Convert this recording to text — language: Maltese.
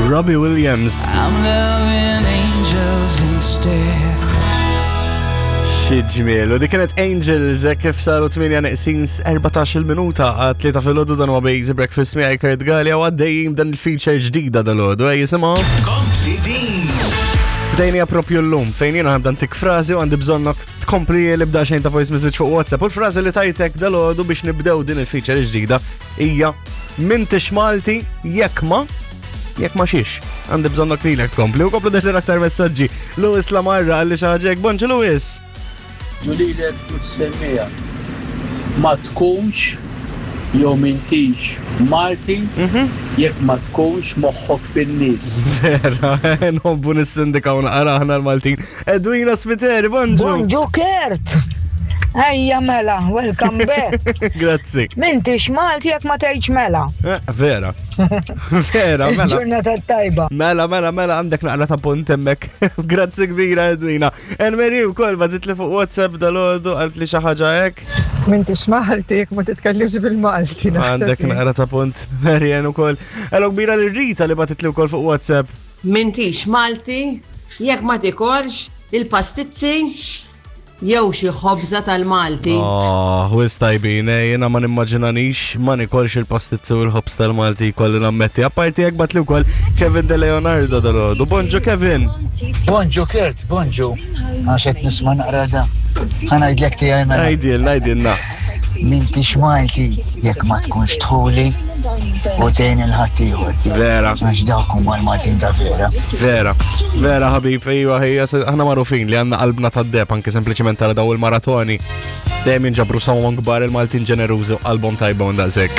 Robbie Williams. I'm loving angels instead. Xi ġmiel. U dik kienet Angels eh, kif saru 8 neqsin 14 minuta għat tlieta filgħodu dan huwa Basic Breakfast miegħi Kurt Gallia u għaddejjin dan il-feature ġdida dal-għodu. Ej jisimgħu. Kompli din. Bdejnija propju l-lum fejn jiena ħabda ntik frażi u għandi bżonnok tkompli li bda xejn ta' voice message fuq WhatsApp. U l-frażi li tajtek dal-għodu biex nibdew din il-feature ġdida hija m'intix Malti jekk ma jekk ma xiex. Għandi bżonnok lilek tkompli u komplu deħlin aktar messaġġi. Lewis Lamarra għalli xi ħaġa hekk. Bonġu Lewis. Ġulilek u t-semmija. Ma tkunx jew m'intix Malti jekk ma tkunx moħħok fin-nies. Vera, nħobbu nissindikaw naqra aħna l-Maltin. Edwina Spiteri, bonġu. Bonġu Kurt! Ejja mela, welcome back. Grazzi. M'intix Malti jekk ma tgħidx mela. Eh, vera. Vera, mela. Ġurnata tajba. Mela, mela, mela, għandek naqra ta' punt hemmhekk. Grazzi kbira, Edwina. Enmeri wkoll bażit li fuq WhatsApp dal-għodu qalt li xi ħaġa hekk. M'intix Malti jekk ma titkellimx bil-Malti. Għandek naqra ta' punt, Marian ukoll. Hello kbira lil Rita li batit li wkoll fuq WhatsApp. M'intix Malti jekk ma tikolx il-pastizzi jew xi ħobża tal-Malti. Oh, wis tajbin, eh, jiena ma nimmaġinanix ma nikolx il-pastizzi u l-ħobż tal-Malti kolli nammetti. Apparti jekk batli wkoll Kevin De Leonardo dal-għodu. Bonġu Kevin! Bonġu Kurt, bonġu. Għax qed nisma' naqra da. Ħa ngħidlek tiegħi mela. Għidilna, għidilna. M'intix Malti jekk ma tkunx dħuli u tgħin il-ħaddieħor. Vera. Għax dawk huma l-Maltin ta' vera. Vera, vera ħabib, iva, hija, aħna magħrufin li għandna qalbna tad-deb anke sempliċement tara daw il-maratoni. Dejjem jinġabru sawon kbar il-Maltin ġenerużi u qalbhom tajba u daqshekk.